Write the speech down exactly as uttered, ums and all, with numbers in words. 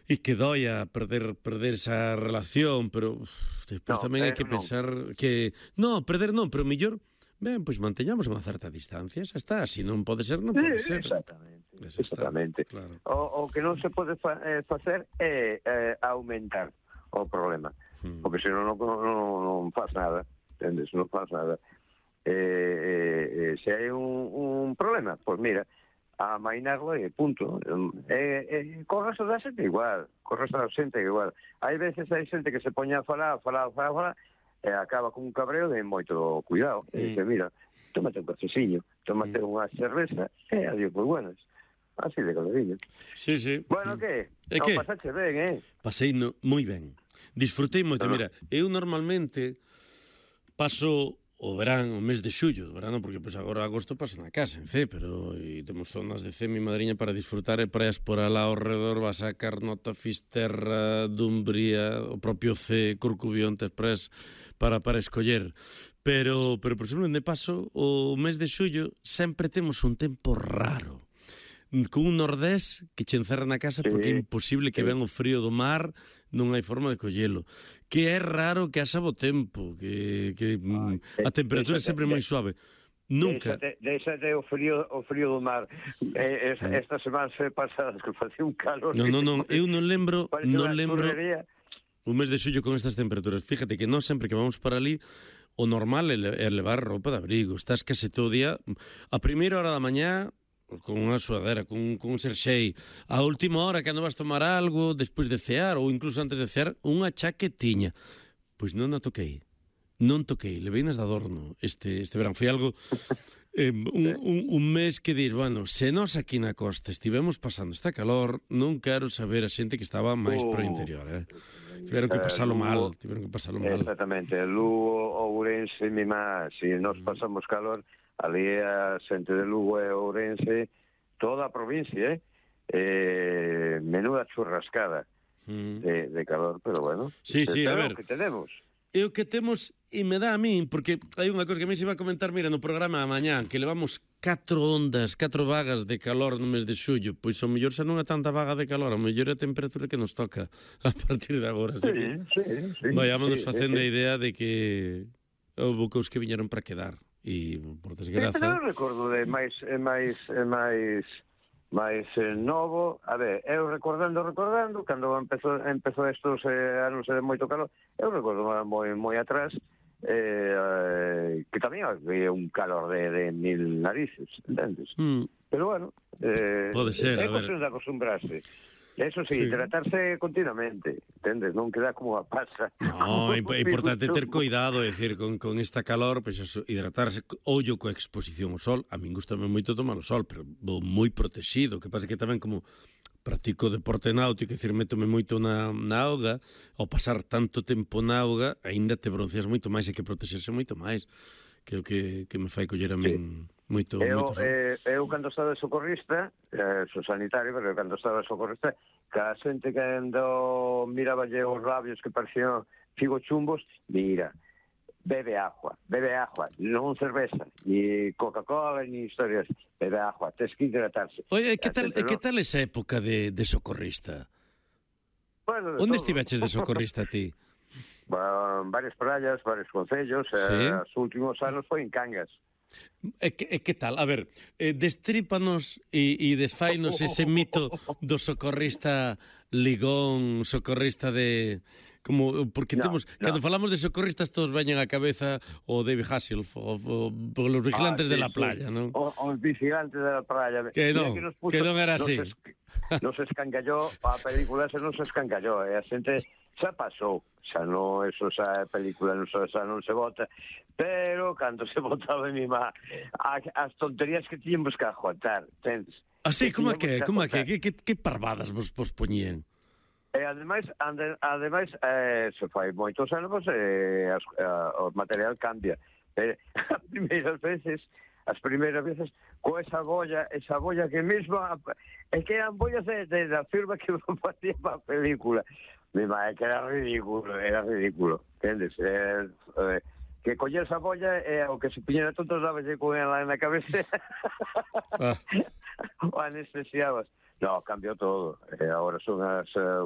E que doia perder perder esa relación, pero uf, despois No, tamén hai pero que non. pensar que... No, perder non, pero mellor... Ben, pois manteñamos unha certa distancia, xa está. Se non pode ser, non pode Sí, ser. exactamente, Xa está, exactamente. claro. O, o que non se pode fa, eh, facer é eh, aumentar o problema, Hmm. porque senón non, non, non faz nada, entendes? Non faz nada. Eh, eh, eh, se hai un, un problema, pois mira, a mainarlo e punto. E, e co resto da xente igual, co resto da xente igual. Hai veces hai xente que se poña a falar, a falar, a falar, a falar, e acaba con un cabreo de moito cuidado. Mm. E dice, mira, tómate un cafeciño, tómate mm. unha cerveza, e adiós, moi buenas. Así de clarinho. Sí, sí. Bueno, mm. que? E Non que? pasache ben, eh? Pasei no, moi ben. Disfrutei moito. No. Mira, eu normalmente paso o verán, o mes de xullo, o verano, porque pois agora agosto pasa na casa, en C, pero e temos zonas de C, mi madriña, para disfrutar e praias por alá ao redor, vas a Carnota, Fisterra, Dumbría, o propio C, Corcubión, tes praias para, para escoller. Pero, pero por exemplo, onde paso, o mes de xullo sempre temos un tempo raro, con un nordés que che encerra na casa Sí, porque é imposible que sí. ven o frío do mar, non hai forma de collelo. Que é raro que haxa bo tempo, que, que Ay, mm, a temperatura é déxate, sempre moi suave. Nunca. Déxate, déxate o frío, o frío do mar. Eh, es, esta semana se pasadas que facía un calor. Non, non, non, eu non lembro, Parece non unha lembro churrería. un mes de xullo con estas temperaturas. Fíjate que non sempre que vamos para ali, o normal é levar roupa de abrigo. Estás case todo o día, a primeira hora da mañá, con unha suadera, con, con un xerxei, a última hora cando vas tomar algo, despois de cear, ou incluso antes de cear, unha chaquetiña. Pois non a toquei, non toquei, leveinas de adorno este, este verán. Foi algo, eh, un, un, un mes que dir, bueno, se nós aquí na costa estivemos pasando esta calor, non quero saber a xente que estaba máis Uh, pro interior, eh? Tiveron que pasalo Lugo, mal, tiveron que pasalo mal. Exactamente, Lugo, Ourense, Mimá, se nos pasamos calor, ali a xente de Lugo e Ourense, toda a provincia, eh? eh menuda churrascada Mm. de, de calor, pero bueno, Sí, sí, a ver. que tenemos. E o que temos, e me dá a min, porque hai unha cousa que a mí se iba a comentar, mira, no programa a mañán, que levamos catro ondas, catro vagas de calor no mes de xullo, pois ao mellor xa non é tanta vaga de calor, ao mellor é a temperatura que nos toca a partir de agora. Así Sí, que sí, sí. vayámonos sí, facendo sí. a idea de que houve cousas que viñeron para quedar, e por Sí, desgraza... pero eu recordo de máis, é máis, é máis, máis eh, novo. A ver, eu recordando, recordando, cando empezou, empezou estos eh, anos de moito calor, eu recordo moi, moi atrás, eh, eh, que tamén había un calor de, de mil narices, entendes? Mm. Pero bueno, eh, Pode ser, é a ver. cuestión de acostumbrarse. Eso sí, Sí. hidratarse continuamente, entendes? Non queda como a pasa. No, é é importante ter cuidado, é dicir, con, con esta calor, pois pues, hidratarse, ollo coa exposición ao sol. A min gustame moito tomar o sol, pero vou moi protegido, que pasa que tamén como practico deporte náutico, é dicir, métome moito na, na auga, ao pasar tanto tempo na auga, aínda te bronceas moito máis, e que protexerse moito máis, que é o que, que me fai coller a min moito, Eu, moito sol. eh, eu cando estaba de socorrista, eh, sou sanitario, pero cando estaba de socorrista, ca xente que ando miraballe os labios que parecían figo chumbos, mira, bebe agua, bebe agua, non cerveza, ni Coca-Cola, ni historias, bebe agua, tens que hidratarse. Oye, que A tal, xente que non- tal esa época de, de socorrista? Bueno, de Onde todo. estiveches de socorrista ti? Van varias praias, varios concellos, Sí. eh, os últimos anos foi en Cangas. E que, e que tal? A ver, eh, destrípanos e, e desfainos ese mito do socorrista ligón, socorrista de... Como, porque No, temos, no. cando falamos de socorristas todos veñen á cabeza o David Hasselhoff, o, o, o los vigilantes Ah, de sí, la sí. playa, non? O, os vigilantes de la playa. Que Mira non, nos puso- que non era nos así. es- Nos escancalló, a película se nos escancalló, e a xente xa pasou, xa non, eso xa a película non, xa, xa non se vota, pero cando se votaba mi má, a, as tonterías que tiñemos que aguantar, entendes? Así, como é que, tiñamos como é que, aguantar. que, que, que parvadas vos, vos poñían? E ademais, ande, ademais eh, se fai moitos anos, eh, as, a, o material cambia. Eh, as primeiras veces, as primeiras veces, co esa bolla, esa bolla que mesmo, é que eran bollas de, de, da firma que facía para a película. Mi madre, que era ridículo, era ridículo, entendes? Eh, eh, que coller esa bolla e eh, o que se piñera tontos daballe con ela na cabeza. Ah. O anestesiabas. No, cambiou todo. Eh, agora son as uh,